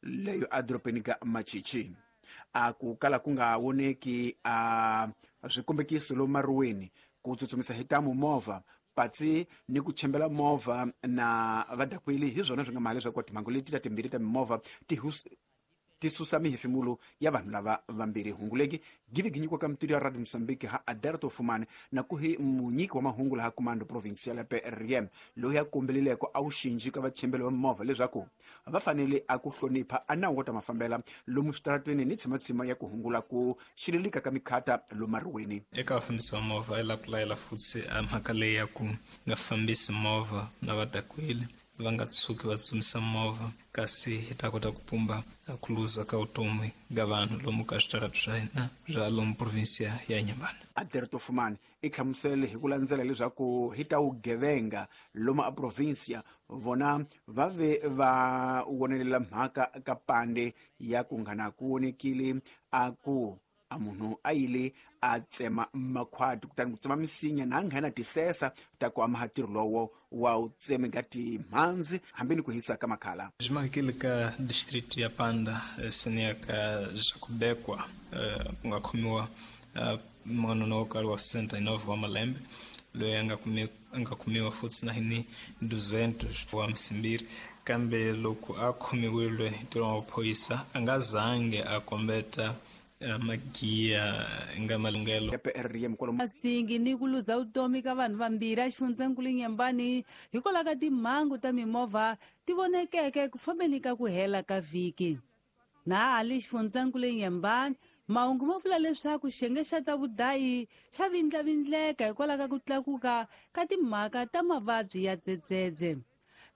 Leyo edorobeni ka Machichi a ku kala ku nga voneki a swikombekiso lomu maruweni, ku tsutsumisa hi tamu movha patsi ni ku chembela movha na vadakweli hi swona swi nga maha leswaku timhangu leti ta timbirhi ta mimovha ti susa mihefemulo ya vanhu lava vambirhi. Hungu leki give gi nyikiwa ka mitudio ya Radio Mozambique ha Aderto Fumane na kuhi munyiki wa mahungu laha Comando Provincial ya PRM, loyi a kombelileko a wu xinji ka vachembeli va mimovha leswaku va fanele a ku hlonipha a nawu wa ta mafambela lomu switaratweni ni tshimatshima ya ku hungula ku xililika ka mikhata lomu mariweni. Eka vafambisi va movha, i lava ku layela futhi a mhaka leyi ya ku nga fambisi movha na vadakweli, va nga tshuki va tsutsumisa movha, kasi hi ta kota ku pumba ku luza ka vutomi ka vanhu lomu ka switarati swa hina swa lomu provinsia ya Inhambane. Aderto Fumane i hlamusele hi ku landzela leswaku hi ta vugevenga lomu a provinsia vona va ve va wonelela mhaka ka pande ya ku nghana ku vonekile a ku a munhu a yile a tsema makhwati, kutani ku tsema misinya na nghena tisesa ta ku amaha ntirho lowo wa u tseme ka timhandzi hambi ni ku hisa ka makhala. Byi makile ka district ya Panda, seniya ka Jakubekwa, ku nga khomiwa n'wanuna wo karhi wa 69 wa malembe, loyi a nga kumiwa futhi na hi 200 wa msimbiri, kambe loko a khomiwile hi ntirho wa maphorisa a nga zange a kombeta magiya nga malunghelo. Ya PRM kwalomu. Masingi ni ku luza vutomi ka vanhu vambirhi exifundzhenkulu Inhambane hikwalaho ka timhangu ta mimovha ti vonekeke ku fambeni ka ku hela ka vhiki. Na hali xifundzankulu Inhambane, mahungu ma vula leswaku xiyenge xa ta vudayi xa vindlavindleka hikwalaho ka ku tlakuka ka timhaka ta mavabyi ya dzedzedze.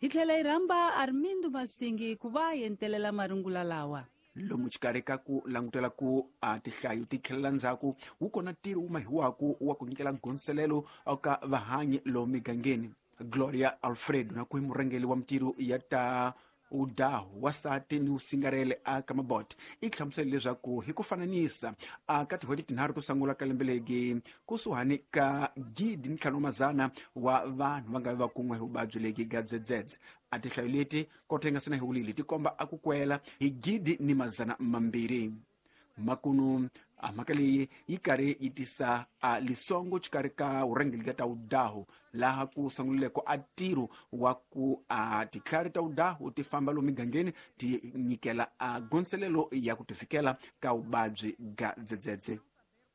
Hi tlhela hi rhamba Armindo Masingi ku va yentelela marungula lawa. Lomu xikarhi ka ku langutela ku a tihlayo ti tlhelela ndzhaku, wu kona ntirho wu mahiwaku wa ku nyikela ngonselelo ka vahanyi lomu migangeni. Gloria Alfredo na ku hi murhangeri wa mintirho ya ta udahu wasati ni usingarele a ka mabot i hlamusele leswaku hi ku fananisa a ka tin'hweti tinharhu to sungula ka lembe legi, kusuhani ka 1500 wa vanhu va nga va kun'we hi vuvabyi legi ga dzedzedze. A tinhlayo leti kota yi nga sina hiwulile ti komba a ku kwela hi 1200. Makunu a mhaka leyi yi karhi yi tisa a lisongo xikarhi ka vurhangeri ka ta udahu, laha ku sungulileko a ntirho wa ku a titlhari ta udahu ti famba lomu migangeni ti nyikela a gonselelo ya ku tifikela ka vuvabyi ga dzedzedze.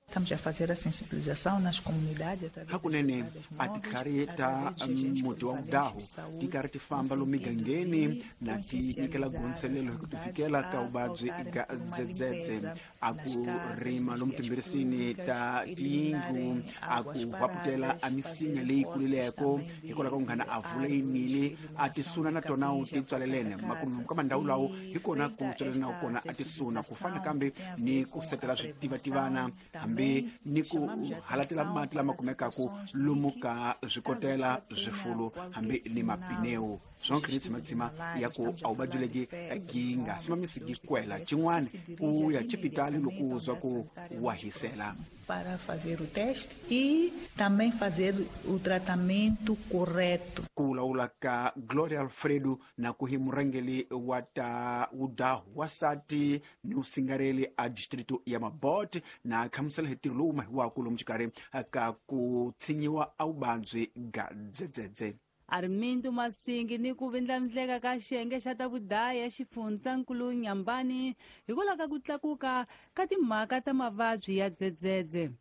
Estamos a fazer a sensibilização nas comunidades através Hakunene a titlhari ta muti wa udahu ti karhi ti famba lomu migangeni na ti nyikela gonselelo hi ku tifikela ka vuvabyi ga dzedzedze, a ku rima lomu timbirisini ta tiyindlu, a ku hwaputela a misinya leyi kulileko hikwalaho ka ku nghana a vula yinile a tisuna na tona u ti tswalelene. Makumu ka mandhawu lawo hi kona ku tswalelanaku kona a tisuna, ku fana kambe ni ku setela switivativana hambi ni ku halatela mati lama kumekaku lomu ka swikotela swifulu hambi ni mapineu swonke ni tshimatshima ya ku a vuvabyi legi gi nga simamisi gi kwela xin'wana ku ya chipitali loko u zwa ku wa hisela. Para fazer o teste e também fazer o tratamento correto. Ku vulavula ka Gloria Alfredo na ku hi murhangeri wa ta udahu wasati ni usingareli a distrito ya Mabot, na hlamusela hi ntirho lowu mahiwaku lomu xikarhi ka ku tshinyiwa a vuvabyi ga dzedzedze. Armindo Masingi ni ku vindlavindleka ka xiyenge xa ta vudaya xifundzankulu Inhambane hikwalaho ka ku tlakuka ka timhaka ta mavabyi ya dzedzedze.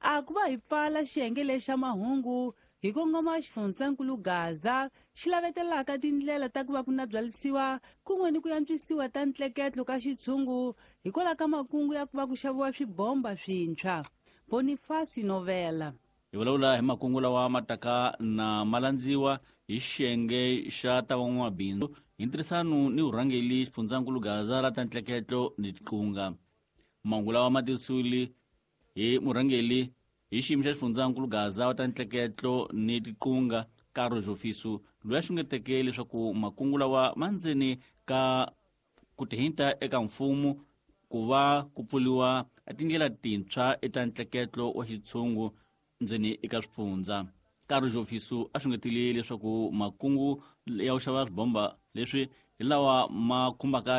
A ku va hi pfala xiyenge lexa mahungu hi kongoma xifundzankulu Gaza, xi lavetelaka tindlela ta ku va ku nabyalisiwa kun'we ni ku antswisiwa ta ntleketlo ka xitshungu hikwalaho ka makungu ya ku va ku xaviwa swibomba swintshwa. Bonifasi Novela. Hi vulavula hi makungu lawa ma taka na ma landziwa hi xiyenge xa ta van'wamabindzu hi ntirhisano ni vurhangeli xifundzankulu Gaza ra ta ntleketlo ni tiqunga. Mahungu lawa ma tivisiwile hi murhangeli hi xiyimo xa xifundzankulu Gaza wa ta ntleketlo ni tiqunga, Karo Jofiso, loyi a xungeteke leswaku makungu lawa ma ndzeni ka ku tihinta eka mfumo ku va ku pfuriwa tindlela tintshwa eka ntleketlo wa xitshungu ndzeni eka swifundza. Karo Jofiso a xungetile leswaku makungu ya ku xava swibomba leswi hi lawa ma khumbaka